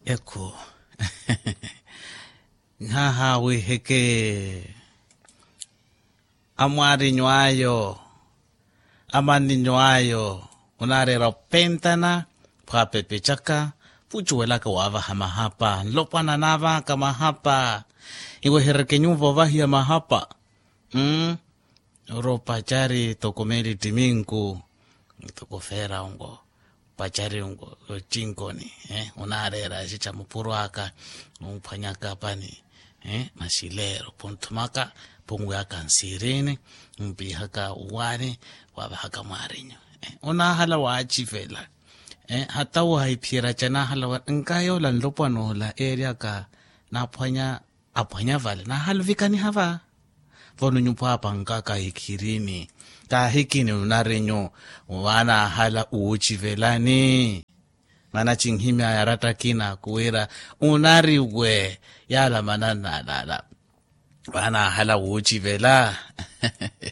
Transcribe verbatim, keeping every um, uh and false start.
Ekhu. Nhaha wiheke. Amwarinyu ayo, amaninyu ayo, onareera opentana, phwapepecaka, phucuwelaka wavaha mahapa nlopwana navaka mahapa. Iwehereke nyuva ovahiya mahapa. Oro pacari toko meli ttiminku, toko feera ongo pacari ongo ocinkoni. Onareera axica mupuro aka, omphwanyaka pani, masi leero phunthumaka, phunwiyaka nsirini, ompiihaka uwaani, wavahaka mwarinyu. Onahala wacivela, hata wahiphiyerya ca nahala wa nkayola nlopwana ola eeryaka, naphwanya aphwanya vale nahala ovikaniha va. Vano nyuphwapa nkaka ikhirini, kahikini onarinyu, vanahala wucivelani. Mana cinhimyaya aratta akina kuwira, onariwe yala mananalala, vanahala wucivela.